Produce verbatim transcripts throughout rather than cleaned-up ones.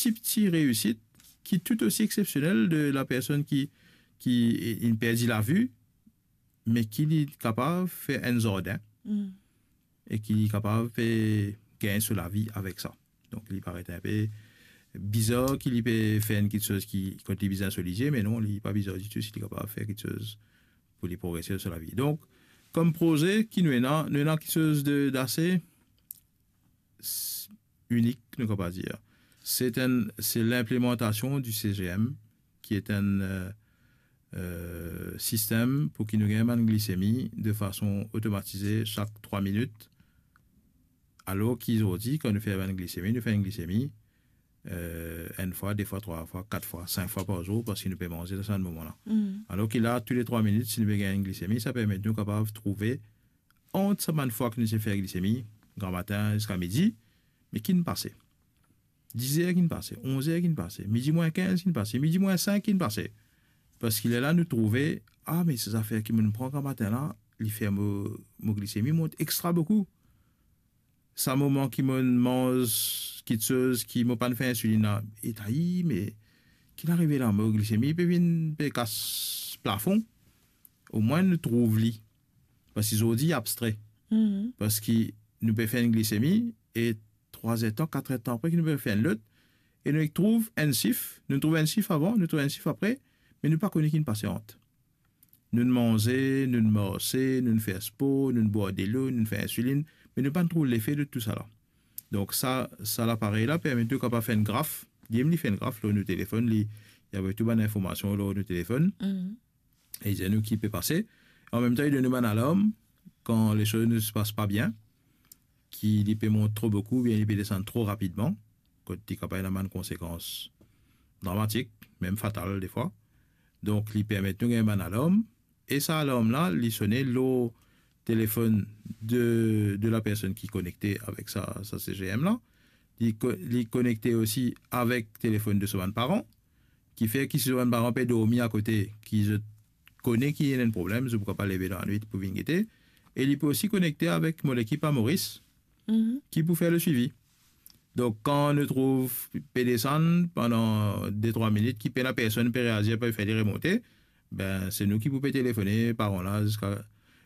ti, ti reysit ki tou osi exsepsionel de la personn ki, ki inn perdi lavi, me ki li kapav fer enn zardin, e ki li kapav pe gagn so lavi avek sa. Donk, li paret inpe bizar ki li pe fer enn kiksoz ki, kot li bizin so lizie, me non, li pa bizar ditou si li kapav fer kiksoz pou li progrese dan so lavi. Donk, kom proze ki nou ena, nou ena kiksoz de, dase s-, inik, nou kapav dir. Se enn, se linplimantasion di C G M, ki e enn, euh, euh, sistem pou ki nou gagn bann glisemi de fason otomatize sak trwa minit. Alor ki zordi, kan nou fer bann glisemi, nou fer enn glisemi, euh, enn fwa, de fwa, trwa fwa, kat fwa, sink fwa par zour, parski nou pe manze dan sa moman la. Alor ki la, toule trwa minit, si nou pe gagn enn glisemi, sa permet nou kapav trouve ant sa bann fwa ki nou ti fer glisemi, gramatin ziska midi, me ki'nn pase. Diz er ki'nn pase, onz er ki'nn pase, midi mwin kinz ki'nn pase, midi mwin sink ki'nn pase. Parski lerla nou trouve, ah, me sa zafer ki mo'nn pran gramatin la, li fer mo, mo glisemi mont extra boukou. Sa moman ki mo'nn manz kiksoz ki mo pa'nn fer insilinn la, e ta, i, me ki'nn arive la, mo glisemi pe vinn, pe kas plafon. Omwin nou trouv li. Parski zordi abstre. Parski nou pe fer enn glisemi, e trwa er tan, kat er tan apre ki nou pe fer enn lot, e nou trouv enn sif, nou trouv enn sif avan, nou trouv enn sif apre, me nou pa kone ki'nn pase ant. Nou'nn manze, nou'nn marse, nou'nn fer spor, nou'nn bwar delo, nou'nn fer insilinn, me nou pa'nn trouv lefe de tousala. Donk sa, sa laparey la permet nou kapav fer enn graf, li mem li fer enn graf lor nou telefonn, li, li avoy tou bann informasion lor nou telefonn. E li dir nou ki pe pase. An mem tan, li donn nou bann alarm kan lesoz ne se pas pa bien, ki li pe mont tro boukou, oubien li pe desann tro rapidman, kot li kapav ena bann konsekans dramatik, mem fatal defwa. Donk, li permet nou gagn bann alarm, e sa alarm la, li sone lor telefonn de, de la personn ki konekte avek sa, sa C G M la. Li ko-, li konekte osi avek telefonn de so bann paran, ki fer ki si so bann paran pe dormi akote, ki zot kone ki ena enn problem, zot pou kapav leve dan lanwit pou vinn gete. E li pe osi konekte avek mo lekip a Moris, ki pou fer le swivi. Donk, kan nou trouv pe desann pandan de trwa minit, ki pena personn pe reazir, pe fer li remonte, be, se nou ki pou pe telefone paran la ziska,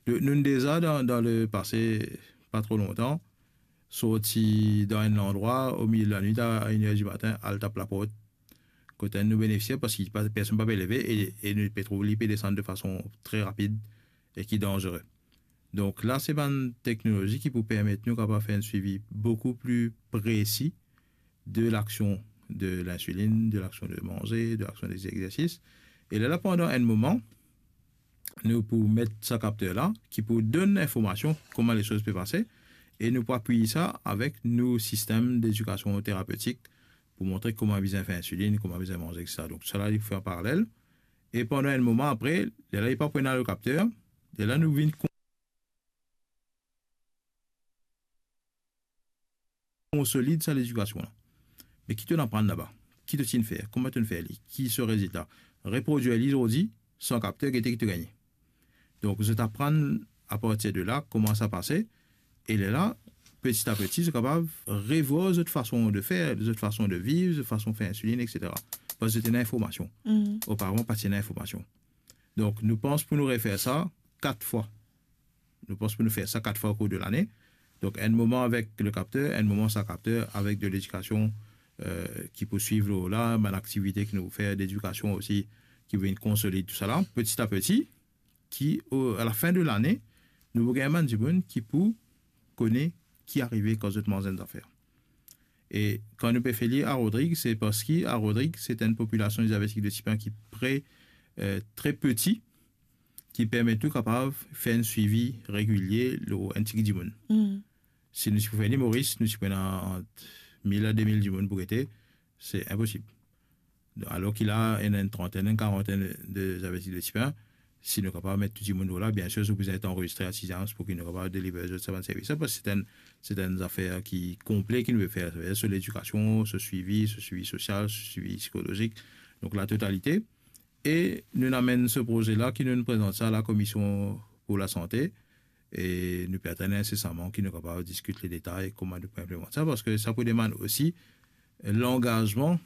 nou, nou'nn deza dan, dan lepase, pa tro lontan, sorti dan enn landrwa, o milie lanwit, a enn er dimatin, al tap laport kot enn nou benefisier, parski pa, personn pa pe leve, e, e nou pe trouv li pe desann de fason tre rapid e ki danzere. Donk la, se bann teknolozi ki pou permet nou kapav fer enn swivi boukou pli presi de laksion de linsilinn, de laksion de manze, de laksion dezegzersis. E lerla, pandan enn moman, nou pou met sa kapter la, ki pou donn informasion kouma lesoz pe pase, e nou pou apiy sa avek nou sistem dedikasion terapetik pou montre kouma bizin fer insilinn, kouma bizin manze, et cetera. Donk, sa la, li fer an paralel. E pandan enn moman apre, lerla li pa pou ena le kapter, lerla nou vinn kon-, konsolid sa ledikasion la. Me ki to'nn aprann laba? Ki to ti'nn fer? Kouma to'nn fer li? Ki so rezilta? Reprodwir li zordi, san kapter, gete ki to gagne. Donk, zot aprann apartir de la, kouma sa pase, e lerla, peti a peti, zot kapav revwar zot fason de fer, zot fason de viv, zot fason fer insilinn, et cetera. Parski zot ena informasion. Oparavan, pa ti ena informasion. Donk, nou pans pou nou refer sa kat fwa. Nou pans pou nou fer sa kat fwa okour de lane. Donk, enn moman avek le kapter, enn moman san kapter, avek de ledikasion, euh, ki pou swiv lor la, bann aktivite ki nou fer, dedikasion osi, ki pou vinn konsolid tousala, peti a peti, ki, o, a lafin de lane, nou pou gagn bann dimoun ki pou kone ki arive kan zot manz enn zafer. E kan nou pe fer li a Rodrig, se parski a Rodrig, se enn popilasion diabetik de tip enn ki pre, euh, tre peti, ki permet nou kapav fer enn swivi regilie lor enn tigit dimoun. Si nou ti pou fer li Moris, nou ti pou ena ant mil a de mil dimoun pou gete, se inposib. Alor ki la, ena enn trantenn, enn karantenn de diabetik de tip enn, si nou kapav met tou dimoun lor la, biensir, zot pou bizin et anrezistre a Siziams pou ki nou kapav deliver zot sa bann servis la, parski se enn, se enn zafer ki konple ki nou pe fer, savedir so ledikasion, so swivi, so swivi sosial, so swivi psikolozik, donk la totalite. E nou amenn se proze la ki nou prezant sa a la Komision pou Lasante, e nou pe atann insesaman ki nou kapav diskit le detay kouma nou pou inplimant sa, parski sa pou demann osi langazman